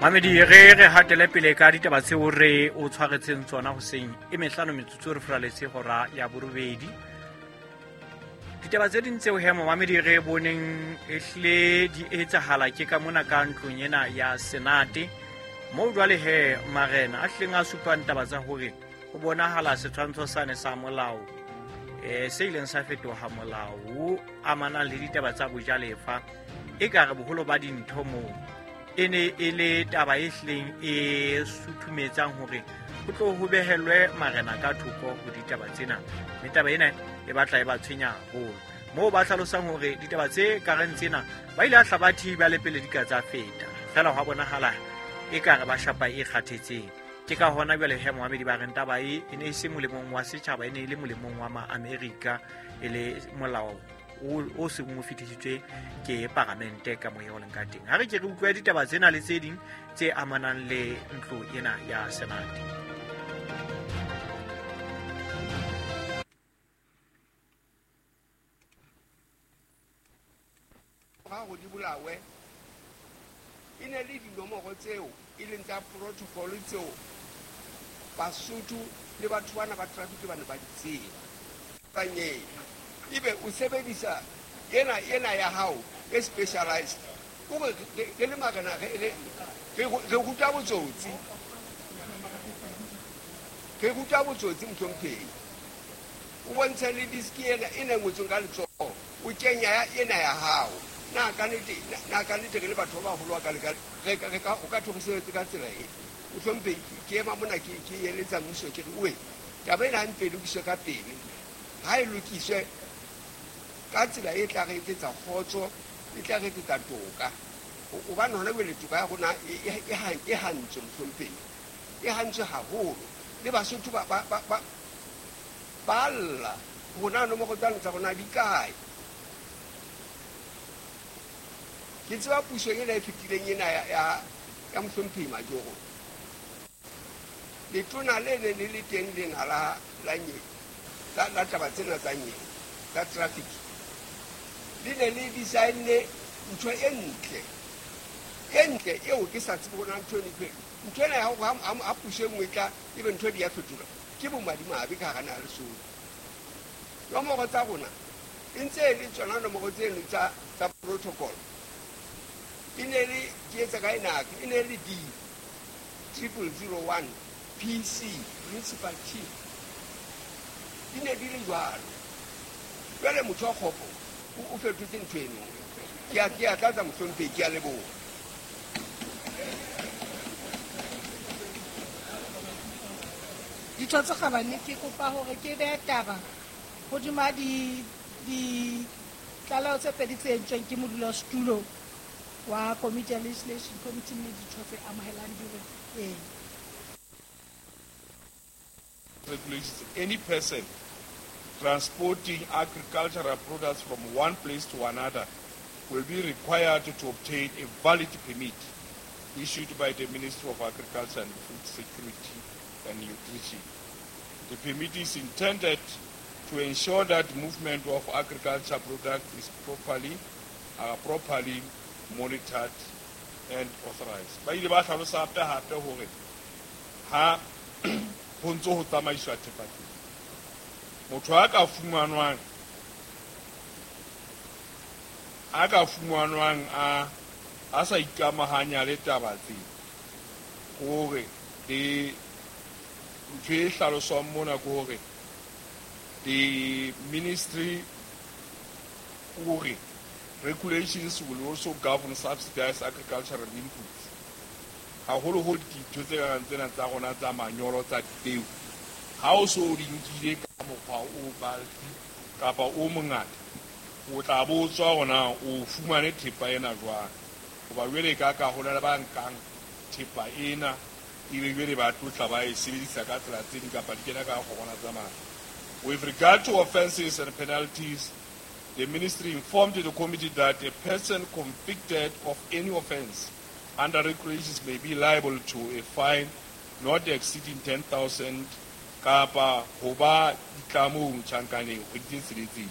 Mamedi, re hatele pele ka ditaba tseo re o tshwaretseng tsona hoseng e mehlano metsotso re furaletse hora ya borobedi. Ditaba tse ding tseo he momamedi re boneng ehlile di etsahala ke ka mona ka ntlong ena ya Senate, moo jwale he marena a hlileng a supang taba tsa hore ho bonahala setshwantsho sane sa molao se ileng sa fetoha molao o amanang le ditaba tsa bojalefa. E ka re boholo ba dintho moo e ne e le taba e hlileng e suthumetsang hore ho tlo ho behelwe marena ka thoko ho ditaba tsena, mme taba ena e batla e ba tshwenya haholo, moo ba hlalosang hore ditaba tse kareng tsena ba ile a hla ba thiba le pele di ka tsa feta fela hwa bonahala e ka re ba shapa e kgathetseng. Ke ka hona jwale he moamedi ba reng taba e e ne e se molemong wa setjhaba, e ne e le molemong wa ma-Amerika, e le molao o seng o fetisitswe ke paramente ka moya o leng ka teng. Ha re ke re utlwe ditaba tsena le tse ding tse amanang le ntlo ena ya Senate. Ga di bolawe e ne le dinomoro tseo e leng tsa protocol tseo Basotho le batho bana ba traffic ba ne ba di tseba. Kanyeng ebe o sebedisa ena ya hao e specialized, o re re le marena re ruta botsotsi, re ruta botsotsi mohlomphehi. O bontshe le diski ena e ne ngotsweng ka letsoho, o kenya ena ya hao. Na ka nnete re le batho ba baholo ka re ka o ka thorisetse ka tsela e mohlomphehi. Ke ema mona ke eletsa mmuso, ke re oe taba ena ha mpe lokiswe ka pele, ha e lokiswe ka tsela e tla re etsetsa kgotso, e tla re etsetsa toka, hobane hona jwale toka ya rona e hantswe mohlomphehi, e hantswe haholo. Le Basotho ba lla rona nomoro tsane tsa rona di kae. Ke tseba puso ena e fetileng ena ya mohlomphehi Majoro, letona le ne le le teng lena la la taba tsena tsa nyewe tsa traffic, le ne le design-ne ntho e ntle eo ke sa tsebe hore ntho ntho ena ya hore ha puso e nngwe tla ebe ntho di ya fetola, ke bomadimabe ka hara naha Lesotho. Nomoro tsa rona e ntse e le tsona nomoro tseno tsa protocol, e ne le ke etsa ka ena, e ne le D 0001 PC Principal Chief, di ne di le jwalo. Jwale motho wa kgopo o fetotse ntho eno. Ke a tlatsa mohlomphehi, ke a leboha. Ditho tse kgabane, ke kopa hore ke behe taba hodima ditlaleho tse pedi tse entsweng ke modulasetulo wa komiti ya legislation committee, mme ditho tse amohelang di re ee. Regulations, any person transporting agricultural products from one place to another will be required to obtain a valid permit issued by the Ministry of Agriculture and Food Security and Nutrition. The permit is intended to ensure that movement of agriculture products is properly monitored and authorized. Ba ile ba hlalosa hape hore ha ho ntso ho tsamaiswa thepa teng, motho a ka fumanwang a sa ikamahanya le taba tse, hore le ntho e hlaloswang mona ke hore the ministry hore regulations will also govern subsidized agricultural inputs. Haholoholo dintho tse karang tsena tsa rona tsa manyolo tsa dipeo, ha o so di nkile ka mokgwa o bulky kapa o mongata, o tla botswa hore o fumane thepa ena jwang. Hoba jwale ka ho na le ba nkang thepa ena ebe jwale ba tlotla ba e sebedisa ka tsela tse ding kapa di kena ka kgorwana tsa mane. With regard to offences and penalties, the ministry informed the committee that a person convicted of any offense under regulations may be liable to a fine not exceeding 10,000 kapa ho ba ditlamong tjhankaneng kgwedi tse tsheletseng.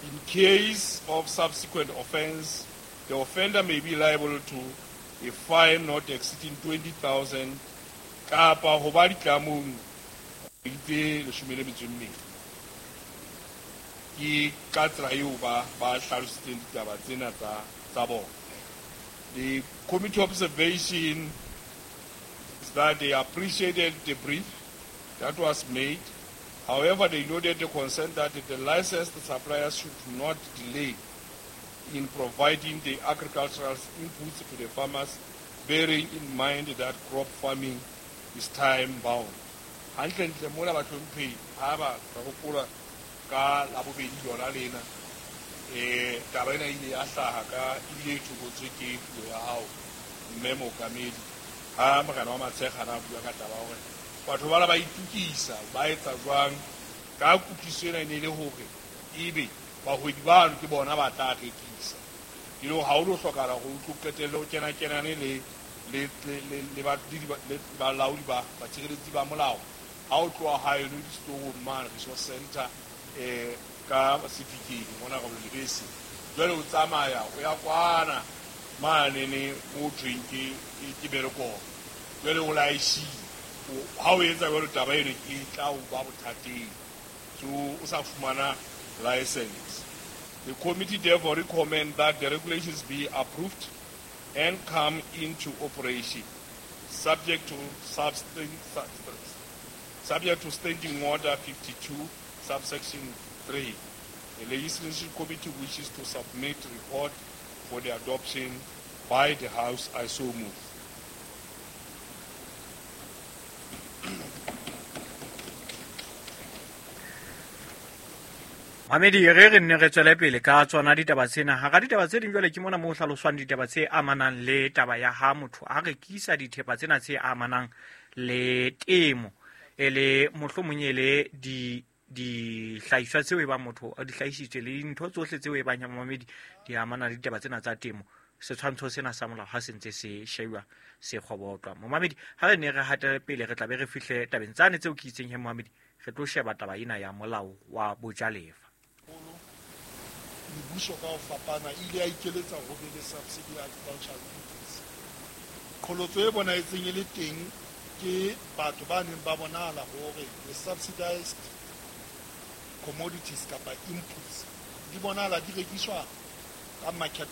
In case of subsequent offense, the offender may be liable to a fine not exceeding 20,000 kapa ho ba ditlamong tse 12. Ke ka tsela eo ba hlalositseng ditaba tsena tsa bona. The committee observation is that they appreciated the brief that was made. However, they noted the concern that the licensed suppliers should not delay in providing the agricultural inputs to the farmers, bearing in mind that crop farming is time-bound. Hantlentle mona bahlomphehi ha ba hopola ka labobedi lona lena, taba ena ile ya hlaha ka ebile e thokotswe ke puo ya hao mme mookamedi ha morena wa Matshekga a bua ka taba hore batho bana ba itukisa ba etsa jwang ka kutlwisiso ena e ne le hore ebe bahwebi bano ke bona ba tla rekisa. E le hore ha o lo hlokahala hore o tlo qetelle o kena-kenane le balaodi ba batshireletsi ba molao ha o tloha haeno disetorong mane resource center ka Sefikeng mona ka Lebese, jwale o tsamaya o ya kwana manene mo thweng ke Berekong, jwale o laeshile ha o etsa jwalo taba eno e tla o ba bothateng, so o sa fumana license. The committee therefore recommend that the regulations be approved and come into operation, subject to Standing Order 52, subsection 3. The Legislation Committee wishes to submit report for the adoption by the House. I so move. Mamedi re nne re tswele pele ka tsona ditaba tsena. Hara ditaba tse ding jwale ke mona mo hlaloswang ditaba tse amanang le taba ya ha motho a rekisa dithepa tsena tse amanang le temo, e le mohlomong e le dihlahiswa tseo e bang motho a di hlahisitswe le dintho tsohle tseo e bang ya mamedi di amana le ditaba tsena tsa temo. Setshwantsho sena sa molao ha se ntse se shejwa se kgobotlwa. Momamedi ha re ne re hatele pele re tla be re fihle tabeng tsane tseo ke itseng he momamedi re tlo sheba taba ena ya molao wa bojalefa. Mebuso ka ho fapana ile ya ikeletsa ho be le subsidy agricultural inputs. Qholotso e bonahetseng e le teng ke batho ba neng ba bonahala hore the subsidized commodities kapa inputs di bonahala di rekiswa ka market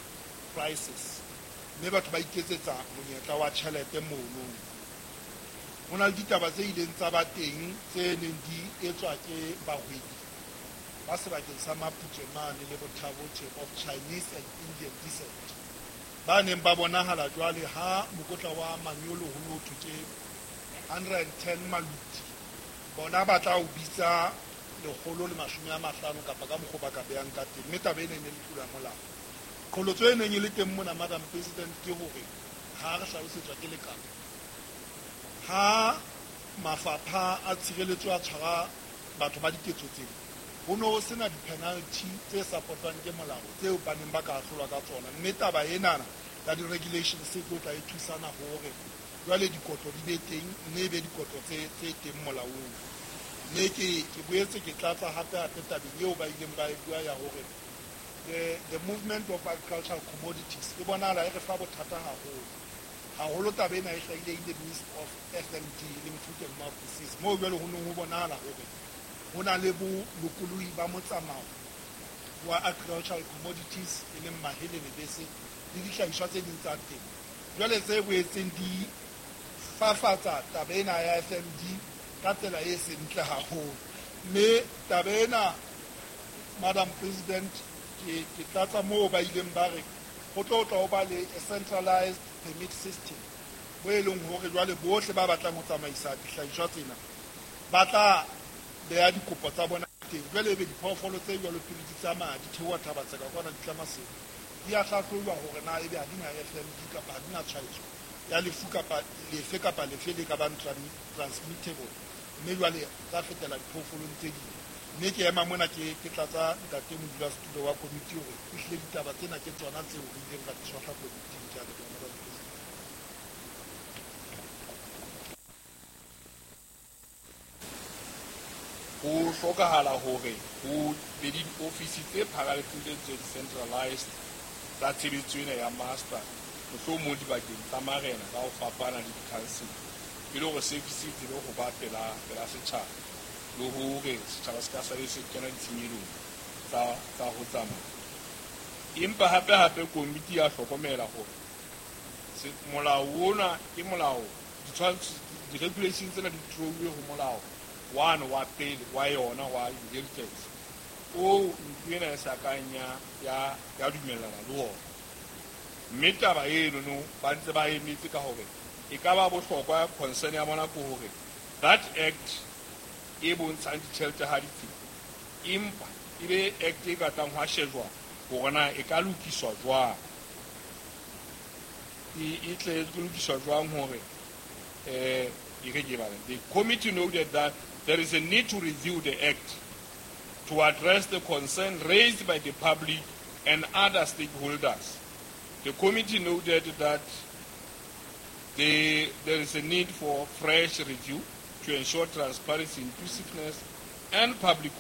prices, mme batho ba iketsetsa monyetla wa tjhelete mono. Ho na le ditaba tse ileng tsa ba teng tse neng di etswa ke bahwebi ba sebakeng sa Maputswe mane le Bothabothe of Chinese and Indian descent, ba neng ba bonahala jwale ha mokotla wa manyolo ho no thwe ke 110 maluti, bona ba tla o bitsa 150 kapa ka mokgwa ba ka behang ka teng, mme taba ena e ne le tlolo ya molao. Qholotso e neng e le teng mona, Madam President, ke hore ha re hlalosetswa ke lekala ha mafapha a tshireletso a tshwara batho ba diketso tsena, ho no sena di-penalty tse supportwang ke molao tseo ba neng ba ka ahlolwa ka tsona, mme taba enana ya di-regulations e tlo tla e thusana hore jwale dikotlo di be teng, mme e be dikotlo tse teng molaong. Mme ke boetse ke tlatsa hape tabeng eo ba ileng ba e bua ya hore the movement of agricultural commodities e bonahala e re fa bothata haholo. Haholo taba ena e hlahile in the midst of FMD, e leng foot and mouth disease, moo jwale ho neng ho bonahala hore ho na le bolokolohi ba motsamao wa agricultural commodities, e leng mahe le lebese le dihlahiswa tse ding tsa temo. Jwale tse boetseng di fafatsa taba ena ya FMD ka tsela e seng ntle haholo. Mme taba ena, Madam President, ke tlatsa moo ba ileng ba re ho tlo tla ho ba le a centralized permit system, bo e leng hore jwale bohle ba batlang ho tsamaisa dihlahiswa tsena ba tla beha dikopo tsa bona teng. Jwale ebe diphoofolo tse jwalo pele di tsamaya di theoha Thaba Tseka kwana di tla Maseru, di a hlahlojwa hore na ebe ha di na FMD kapa ha di na tshwaetso ya lefu kapa lefe kapa lefe le ka bang transmittable, mme jwale tsa fetela diphoofolong tse ding. Mme ke ema mona ke tlatsa ntate modulasetulo wa komiti hore ehlile ditaba tsena ke tsona tseo re ileng ra di tshwahla komiting. Ke a leboha, Madam President. Ho hlokahala hore ho be le diofisi tse pharaletseng tse centralized tsa tshebetso ena ya master mohlomong dibakeng tsa marena ka ho fapana le di-council, e le hore service e tsebe ho ba pela setjhaba, le hore setjhaba se ka sale se kena ditshenyelong tsa ho tsamaya. Empa hape-hape komiti ya hlokomela hore molao ona ke molao, di-regulation tsena di theohile ho molao wane wa pele wa yona wa inheritance o ntlo ena e sa kang ya dumellana le ona. Mme taba eno ba ntse ba emetse ka hore e ka ba bohlokwa, concern ya bona ke hore that act e bontshang ditjhelete ha di tsebe, empa e be act e ka tlang hwa shejwa hore na e ka lokiswa jwang, e tle e lokiswa jwang hore the committee noted that there is a need to review the act to address the concern raised by the public and other stakeholders. The committee noted that there is a need for fresh review to ensure transparency, inclusiveness, and public.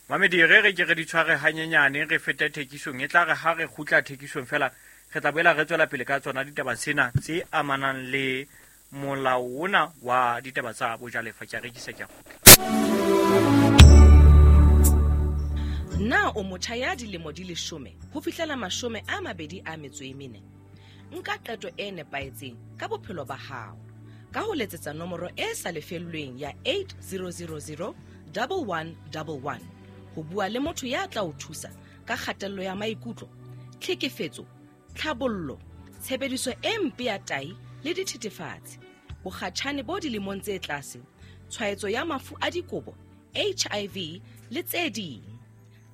Mamedi, re ke re di tshware hanyenyane, re fete thekisong. E tla re ha re kgutla thekisong fela, re tla boela re tswela pele ka tsona ditaba tsena tse amanang le molao ona wa ditaba tsa bojalefa. Ke a rekisa, ke a kgutla. Na o motjha ya dilemo di 10 ho fihlela 24? Nka qeto e nepahetseng ka bophelo ba hao ka ho letsetsa nomoro e sa lefellweng ya 8000 1111 ho bua le motho ya tla o thusa ka kgatello ya maikutlo, tlhekefetso, tlhabollo, tshebediso e mpe ya tai le dithethefatsi, bokgatjhane bo dilemong tse tlase, tshwaetso ya mafu a dikobo, HIV le tse ding.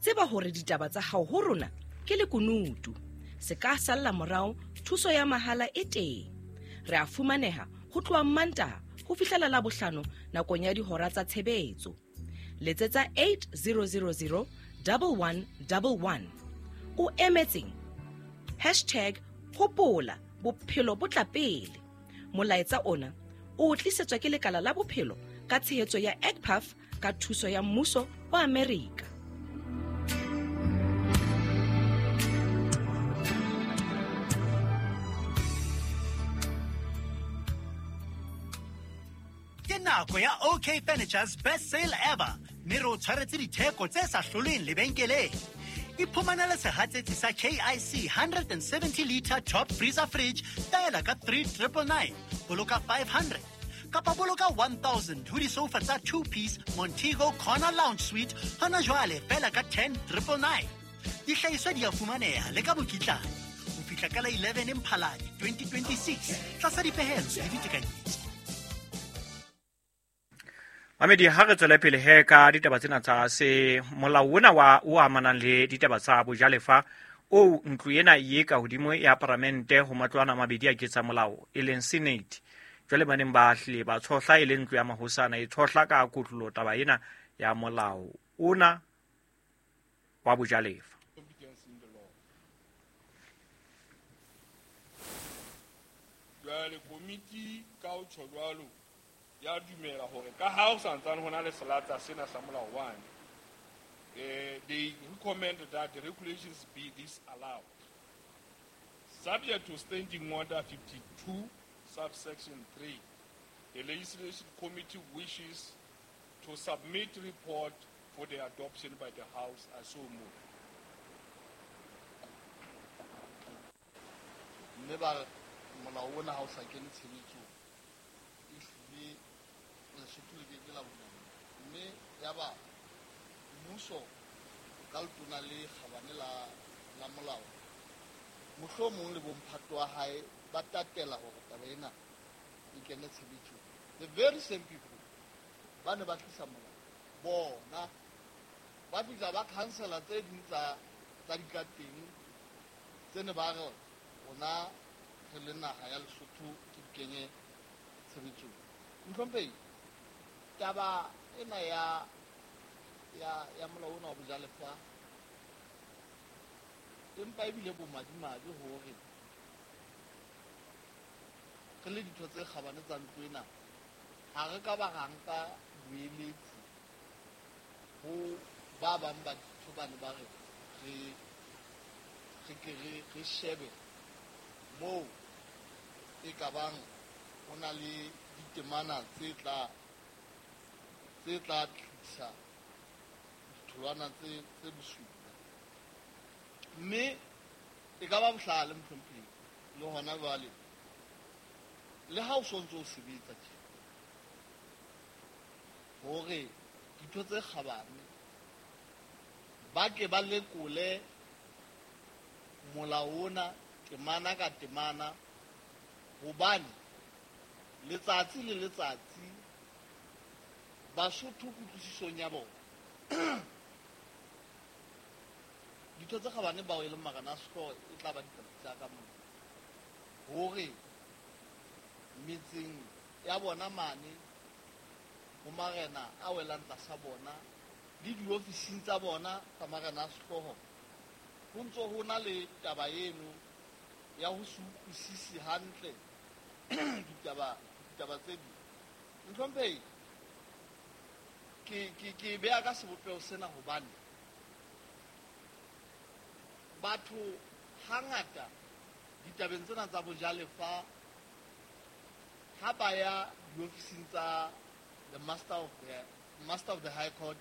Tseba hore ditaba tsa hao ho rona ke lekunutu. Se ka salla morao, thuso ya mahala e teng. Re a fumaneha ho tloha Mantaha ho fihlela Labohlano nakong ya dihora tsa tshebetso. Letsetsa 8000 1111. O emetseng? Hashtag hopola bophelo bo tla pele. Molaetsa ona o tlisetswa ke lekala la bophelo ka tshehetso ya ECPAF ka thuso ya mmuso wa Amerika. Ke nako ya OK Furniture's best sale ever, mme re o tshwaretse ditheko tse sa hlolweng lebenkeleng. Iphumanele sehatsetsi sa KIC 170 liter top freezer fridge taela ka 3999, boloka 500 kapa boloka 1000 ho disofa tsa 2-piece Montego Corner Lounge Suite hona jwale fela ka 10999. Dihlahiswa di a fumaneha le ka mokitlane ho fihla ka la 11 Mphalane 2026 tlasa dipehelo le ditekanyetso. Mamedi, ha re tswele pele he ka ditaba tsena tsa se molao ona wa o amanang le ditaba tsa bojalefa o ntlo ena e ka hodimo ya paramente ho matlwana a mabedi a ketsa molao e leng Senate. Jwale ba neng ba hlile ba tshohla e leng ntlo ya mahosana e tshohla ka kotlolo taba ena ya molao ona wa bojalefa. Jwale komiti ka ho tjho jwalo ya dumela hore ka ha o santsane hona le selatsa sena sa molao wane, they recommend that the regulations be disallowed subject to standing order 52 subsection 3. The legislation committee wishes to submit report for the adoption by the House. I so move. Mme ba molao ona ha o sa kene tshebetsong, ehlile Lesotho le ke ke la bona, mme ya ba mmuso ka letona le kgabane la molao mohlomong le bomphato wa hae ba tatela hore taba ena e kene tshebetsong. The very same people ba ne ba tlisa molao bona ba fihla ba cancela tse ding tsa dikateng tse ne ba re rona re le naha ya Lesotho ke di kenye tshebetsong. Mohlomphehi, taba ena ya molao ona wa bojalefa empa ebile bomadimabe hore re le ditho tse kgabane tsa ntlo ena ha re ka ba ra nka boeletsi ho ba bang ba ditho bane ba re re ke re shebe Moo e ka bang ho na le ditemana tse tla tlisa ditholwana tse bosula. Mme e ka ba bohlale mohlomphehi le hona jwale le ha o sontso o sebetsa tje hore ditho tse kgabane ba ke ba lekole molao ona temana ka temana, hobane letsatsi le letsatsi Basotho kutlwisisong ya bona ditho tse kgabane bao e leng marena a sehlooho e tla ba ditaba tsa ka mona hore metseng ya bona mane ho marena a welang tlasa bona le diofising tsa bona tsa marena a sehlooho ho ntso ho na le taba eno ya ho se utlwisise hantle ditaba tse ding. Mohlomphehi, ke beha ka sebopeho sena hobane batho hangata ditabeng tsena tsa bojalefa ha ba ya diofising tsa the master of the high court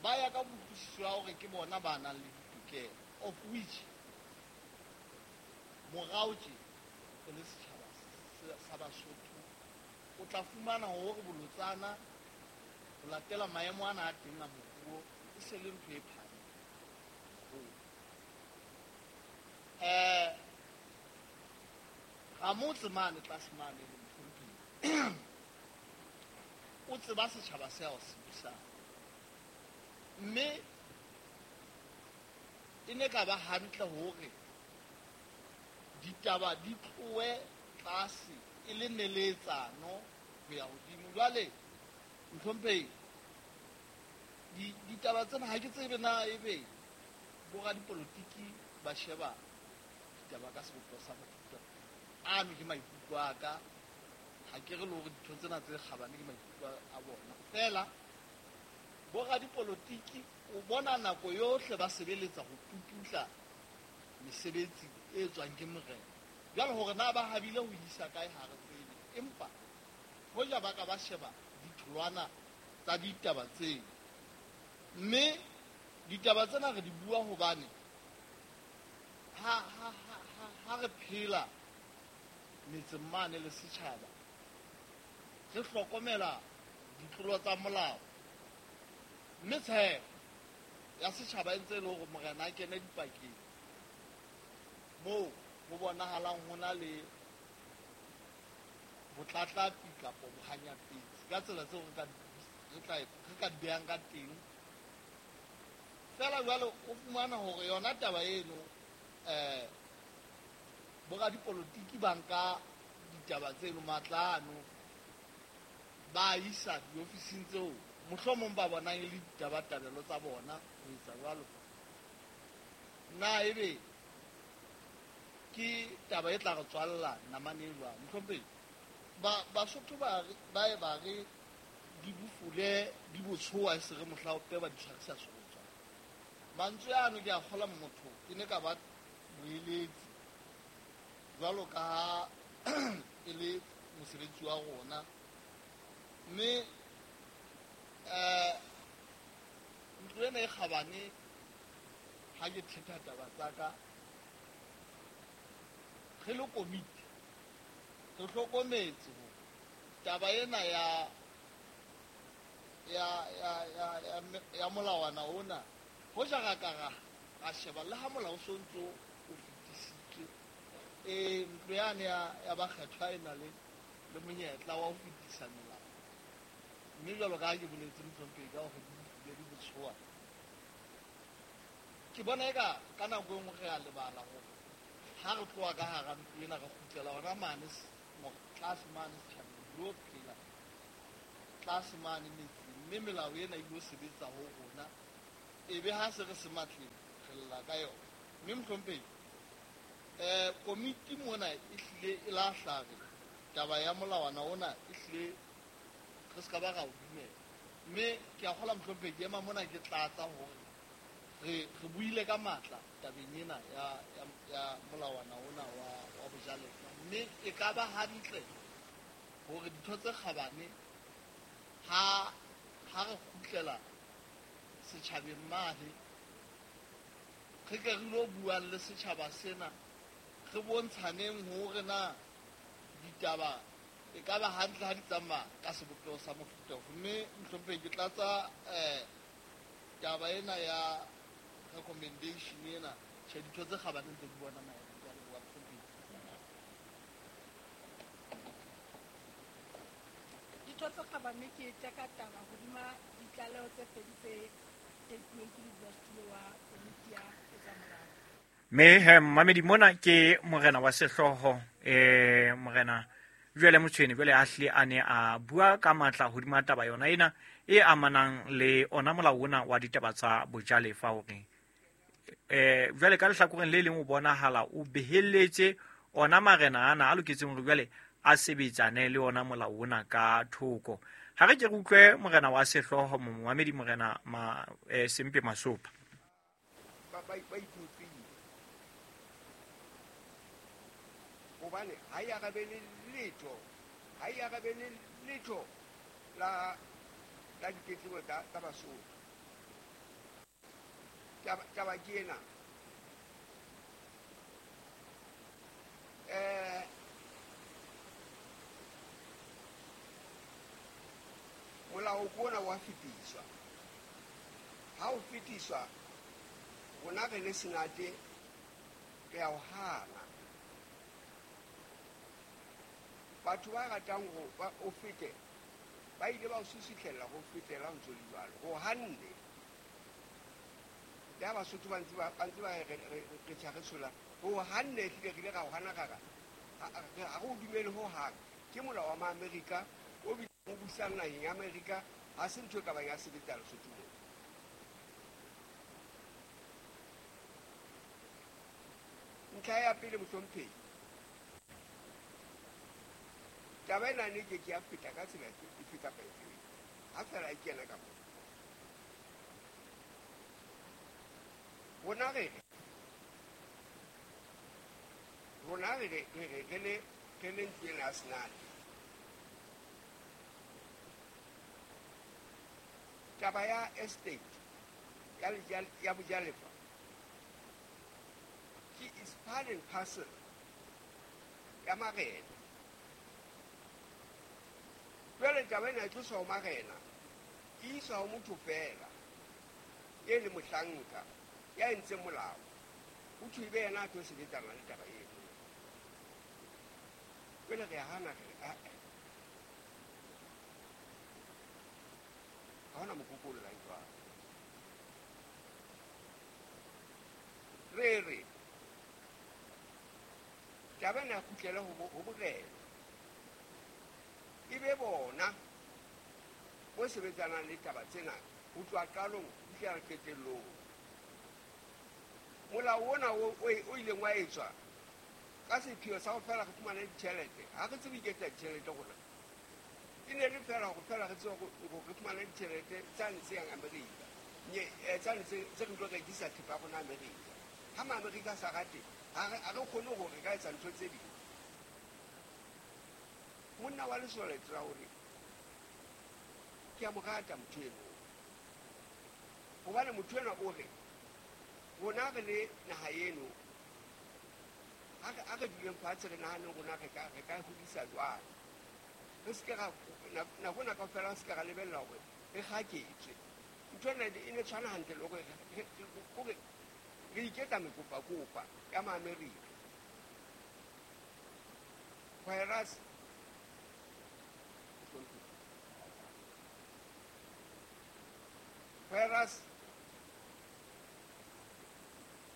ba ya ka bokutlwisiso ya hore ke bona ba nang le ditokelo, of which morao tje re le setjhaba sa Basotho o tla fumana hore bolotsana ho latela maemo ana a teng a moruo e se le ntho e phahameng haholo. Ramotse mane tlase mane le mohlomphehi o tseba setjhaba se ao se busang, mme e ne ka ba hantle hore ditaba di tlohe tlase e le neletsano ho ya hodimo. Jwale mohlomphehi, ditaba tsena ha ke tsebe na ebe boradipolotiki ba sheba ditaba ka sebopeho sa mofuta ano. Ke maikutlo a ka, ha ke re le hore ditho tsena tse kgabane ke maikutlo a bona fela. Boradipolotiki o bona nako yohle ba sebeletsa ho puputla mesebetsi e tswang ke morena. Jwale hore na ba habile ho isa kae ha re tsebe, empa hoja ba ka ba sheba ditholwana tsa ditaba tseo. Mme ditaba tsena re di bua hobane ha re phela metseng mane le setjhaba re hlokomela ditlolo tsa molao, mme tshepo ya setjhaba e ntse e le hore morena a kene dipakeng moo ho bonahalang ho na le botlatlapi kapa bohanyapetsi ka tsela tseo re ka di behang ka teng. Fela jwale o fumana hore yona taba eno boradipolotiki ba nka ditaba tseno matla ano ba isa diofising tseo mohlomong ba bonang e le ditabatabelo tsa bona ho etsa jwalo. Na ebe ke taba e tla re tswalla namane e jwang? Mohlomphehi, Basotho ba e ba re di bofule di botshoa e se re mohla o pe ba di tshwarisa serotswana. Mantswe ano ke a kgola motho ke ne ka ba moeletsi jwalo ka ha e le mosebetsi wa rona, mme ntlo ena e kgabane ha ke thetha taba tsa ka re le komiti re hlokometse hore taba ena ya molawana ona hoja ra ka ra sheba le ha molao o sontso o fetisitswe, ntlo yane ya bakgethwa e na le monyetla wa ho fetisa melao. Mme jwalo ka ha ke boletse mohlomphehi ka hore di botshoa, ke bona eka ka nako e nngwe re a lebala hore ha re tloha ka hara ntlo ena re kgutlela hona mane tlase mane setjhabeng lo phela tlase mane metseng, mme melao ena e ilo sebetsa ho rona ebe ha se re se matleng re lla ka yona. Mme mohlomphehi, komiti mona e hlile e lahla re taba ya molawana ona e hlile re se ka ba ra o dumela. Mme ke a kgola mohlomphehi ke ema mona ke tlatsa hore Re buile ka matla tabeng ena ya molawana ona wa bojalefa, mme e ka ba hantle hore ditho tse kgabane ha re kgutlela setjhabeng mane, re ke re lo buang le setjhaba sena, re bontshaneng hore na ditaba e ka ba hantle ha di tsamaya ka sebopeho sa mofuta ofe. Mme mohlomphehi, ke tlatsa taba ena ya recommendation ena, tjhe, ditho tse kgabane ntse di bona maemo. Ke a leboha, mohlomphehi. Ditho tse kgabane, ke teka taba hodima ditlaleho tse pedi tse tekuweng ke modulasetulo wa komiti ya ketsamolao. Mme he mamedi, mona ke morena wa sehlooho, morena Jwale Motshweni, jwale a hlile a ne a bua ka matla hodima taba yona ena e amanang le ona molao ona wa ditaba tsa bojalefa, hore jwale ka lehlakoreng le leng o bonahala o behelletse ona marena ana a loketseng hore jwale a sebetsane le ona molao ona ka thoko. Ha re ke re utlwe morena wa sehlooho, momamedi, morena Sempe Masopa. Ba ikutlwile hobane ha e arabele letho, ha e arabele letho la ditletlebo tsa Basotho. Taba ke ena. Molao ke ona wa fetiswa. Ha o fetiswa, rona re le Senate re a o hana. Batho ba ratang ho ba o fete, ba ile ba o susutlhella ho fetela ho ntso le jwalo. Ho hanne. Le ha Basotho ba ntse ba re tjha re tshola, ho hanne ehlile re ile ra o hana ra re, ha re o dumele ho hang. Ke molao wa Maamerika o bileng o busang naheng ya Amerika, ha se ntho e ka bang ya sebetsa Lesotho mona. Ntlha ya pele, mohlomphehi, taba ena ne ke ke ya feta ka tsela efe kapa efe, ha fela e kena ka mona. Rona re re le ntlo ena ya Senate, taba ya estate ya bojalefa ke is part and parcel ya marena. Jwale taba ena e tloswa ho marena, e iswa ho motho fela e le mohlanka ya entseng molao, ho thwe ebe yena a tlo sebetsana le taba eno. Jwale re a hana, re re ae, ha hona mokoko o llang jwalo. Re re taba ena e kgutlele ho borena, e be bona bo sebetsanang le taba tsena ho tloha qalong ho fihlela qetellong. Molao ona o ileng wa etswa ka sepheo sa ho fela re fumane ditjhelete, ha re tsebe iketsa ditjhelete rona, e ne le fela hore fela re tsebe hore re fumane ditjhelete tsane tse yang Amerika, tsane tse re tlo rekisa thepa ya rona Amerika. Ha Maamerika a sa rate, ha re kgone hore re ka etsa ntho tse ding. Monna wa Lesole Traore, ke a mo rata motho eno, hobane motho enwa o re rona re le naha eno, ha re duleng fatshe re nahaneng rona re ka hodisa jwang. Re se ke ra nako ena kaofela re se ke ra lebella hore re kgaketswe. Ntho ena e ne tshwana hantle le hore re iketsa mekopakopa ya Maamerika. Whereas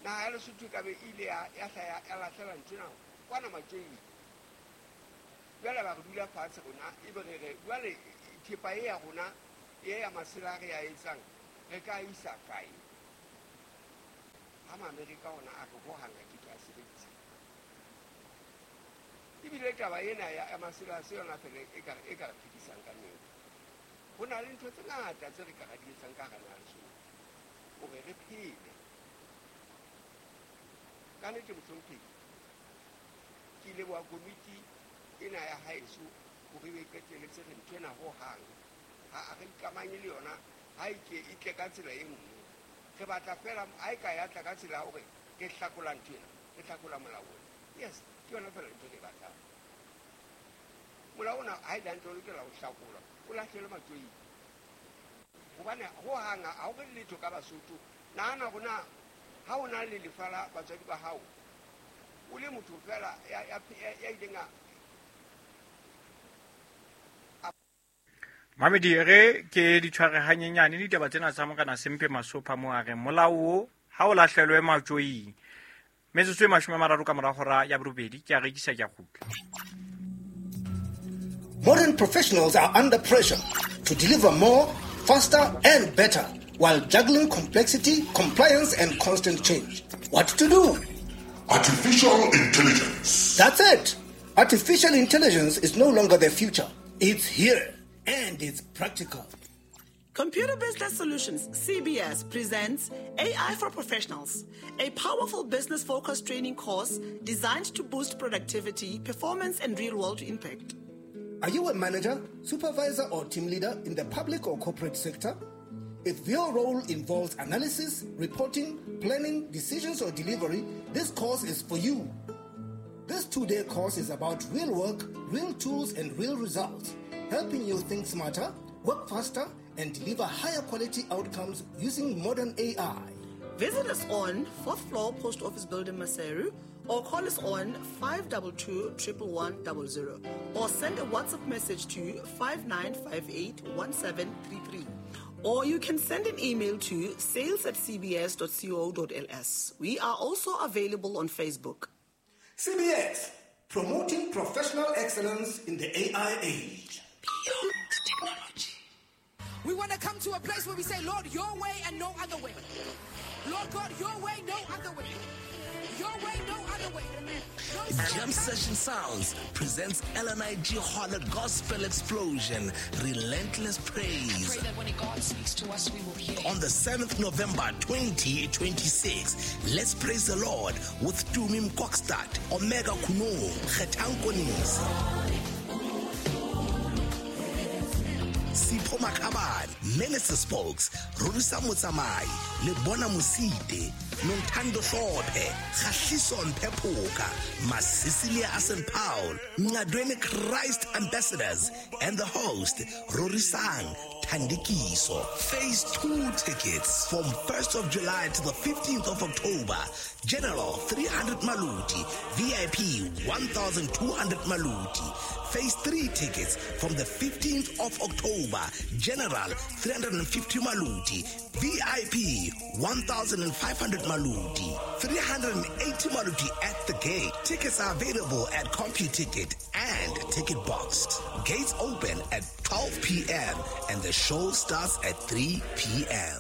naha ya Lesotho e ka be ile ya hla ya lahlela ntho ena kwana matjoing. Jwale ba re dula fatshe rona, ebe re re jwale thepa e ya rona e ya masela re ya etsang re ka isa kae? Ha Maamerika ona a re hohang a ke ke a sebedisa. Ebile taba ena ya masela se yona fela e ka re phedisang ka nnete. Ho na le ntho tse ngata tse re ka ra di etsang ka hara naha Lesotho hore re phele. Ka nnete mohlomphehi, ke leboha komiti ena ya haeso hore e qetelletse re ntho ena hohang. Ha re ikamanye le yona, ha e ke e tle ka tsela e nngwe. Re batla fela ha e ka ya tla ka tsela ya hore re hlakola ntho ena, re hlakola molao ona. Yes, ke yona fela ntho e re e batlang. Molao ona ha e le hantle o lokela ho hlakolwa, o lahlelwe matjoing. Hobane hohang ha ho re letho ka Basotho. Nahana hore na ha o na le lefa la batswadi ba hao, o le motho fela ya ileng a Mamedi re ke di tshware hanyenyane ditaba tsena tsa Morena Sempe Masopha mo a reng molao o ha o lahlelwe matjoing. Metsotso e 30 ka mora hora ya borobedi ke a rekisa ke a kgutla. Modern professionals are under pressure to deliver more, faster, and better while juggling complexity, compliance, and constant change. What to do? Artificial intelligence. That's it. Artificial intelligence is no longer the future. It's here, and it's practical. Computer Business Solutions, CBS, presents AI for Professionals, a powerful business-focused training course designed to boost productivity, performance, and real-world impact. Are you a manager, supervisor, or team leader in the public or corporate sector? If your role involves analysis, reporting, planning, decisions, or delivery, this course is for you. This 2-day course is about real work, real tools, and real results, helping you think smarter, work faster, and deliver higher quality outcomes using modern AI. Visit us on 4th floor Post Office Building, Maseru, or call us on 522 11100, or send a WhatsApp message to 5958 1733. Or you can send an email to sales@cbs.co.ls. We are also available on Facebook. CBS, promoting professional excellence in the AI age. Beyond technology. We want to come to a place where we say, Lord, your way and no other way. Lord God, your way, no other way. Your way, no other way. No Jam Session Sounds presents LNIG Holler Gospel Explosion, Relentless Praise. I pray that when God speaks to us, we will hear. On the 7th November 2026, let's praise the Lord with Tumi Mkokstad, Omega Kuno, Kgetang Sipho Makhabane, Minister Spokes, Rorisa Motsamai, Lebona Mosite, Nontando Hlophe, Kgahliso Mpephoka, Masisilia Asen Paul, Ngadweni Christ Ambassadors, and the host, Rorisang Thandikiso. Phase 2 tickets from 1st of July to the 15th of October. General 300 Maluti, VIP 1,200 Maluti. Phase 3 tickets from the 15th of October. General 350 Maluti, VIP 1,500 Maluti, 380 Maluti at the gate. Tickets are available at CompuTicket and Ticket Box. Gates open at 12 p.m. and the show starts at 3 p.m.